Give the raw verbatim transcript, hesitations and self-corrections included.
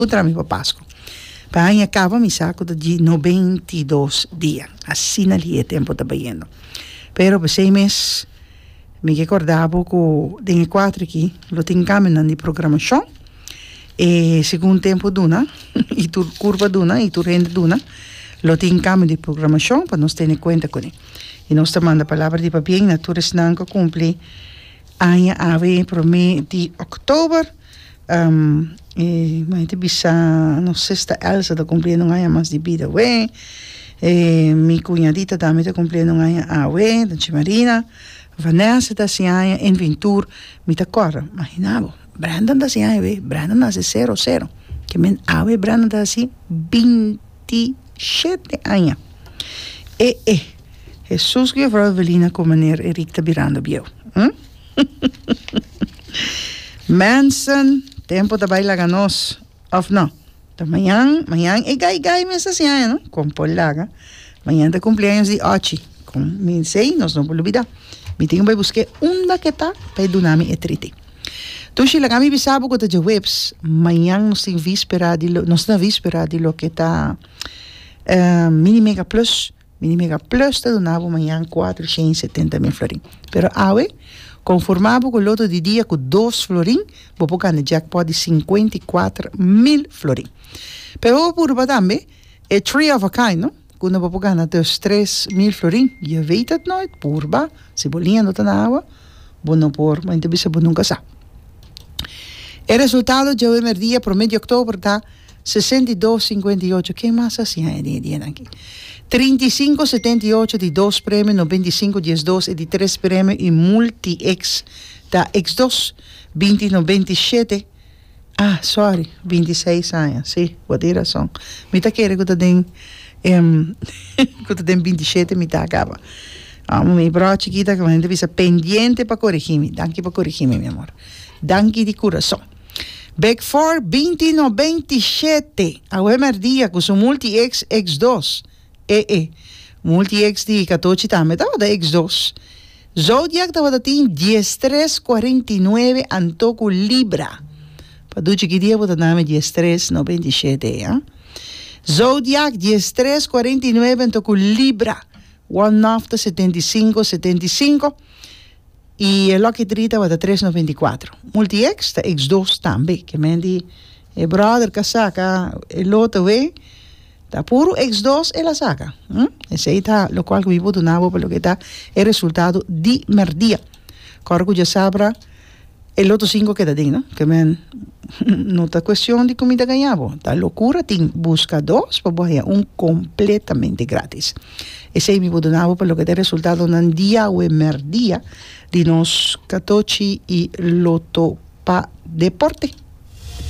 Puntra mi pa Pasku. Pa aña kaba mi sa ku ta di nobenta i dos dia. Asina li e tempu ta bayendo. Pero p'esei mes mi ke kòrda bo ku den e kuater aki lo tin kambionan di programashon. E segun tempu duna i tur kurpa duna i tur hende duna lo tin kambio di programashon pa nos tene kuenta kuné. I nos ta manda palabra di pabien na tur esnan ku a kumpli aña awe promé di òktober. Um, e mi ta bisa nos sister Elsa ta cumpliendo un aña mas di bida we. E, mi cuñadita tambe ta cumpliendo un aña awe, Danchi Marina. Vanessa ta hasi aña, en Ventur, mi ta corda, imagina bo, Brandon ta hasi aña we, Brandon nace cero cero. Ke men awe Brandon ta hasi binti shete aña. E, e, Jesus ku juffrouw Evelina ku meneer Erik ta birando bieu. Hm? Mensen, tempo ta bai laga nos, of no? Ta mañan, mañan e gai gai mes hasi aña, no? Kon por laga. Mañan ta cumpleaños di Ochi. Kon mi sei, nos no por lubida. Mi tin ku bai busk'é unda ke ta pa e duna mi e triti. Tushi, laga mi bisa bo ku ta djaweps. Mañan nos tin víspera di lo, nos ta na víspera di loke ta eh, Mini Mega Plus. Mini Mega Plus ta duna bo mañan kuater shen i setenta mil florin. Pero awe, konformá bo ku loto di dia ku dos florin, bo por gana jackpot di sinkuenta i kuater mil florin. Pero bo por purba tambe e three of a kind, no? Ku unda bo por gana dus tres mil florin. Je weet het nooit, purba. Si bo liña no ta na awa, bo no por, mi ta bisa bo nunka sa. E resultado djawe merdia promé di òktober ta sesenta i dos sinkuenta i ocho. Ken mas a hasi aña den e dianan aki? Trinta i sinku setenta i ocho di dos premio, noventa i sinku dies dos e di tres premio i multi X ta X dos, binti noventa i shete. Ah, sorry, binti i seis aña, si, bo tin rason. Mi ta kere ku ta den ku ta den binti i shete mi ta kaba. Amo mi bro chikita ku ta bisa pendiente pa korigí mi. Danki pa korigí mi, mi amor. Danki di kurason. Big Four binti noventa i shete awe merdia ku su multi X X dos. E e. Multi X di katochi tambe tabata X dos. Zodiac tabata tin dies tres kuarenta i nuebe anto ku Libra. Pa duchi ki dia bo ta name dies tres noventa i shete e, ha? Zodiac dies tres kuarenta i nuebe anto ku Libra. One Off ta setenta i sinku setenta i sinku. I e Lucky Three tabata tres noventa i kuatro. Multi X ta X dos tambe. Ke men di e brother ka saka e loto we, ta puru X dos el a saka. Hm? Esei ta lokual ku mi por duna bo pa loke ta e resultado di merdia. Kòrda ku djasabra e loto sinku keda den, no? Ke men no ta kuestion di ku mi ta gaña bo. Ta lokura tin buska dos pa bo haña un kompletamente gratis. Esei mi por duna bo pa loke ta e resultadonan diawe merdia di nos katochi i loto pa deporte.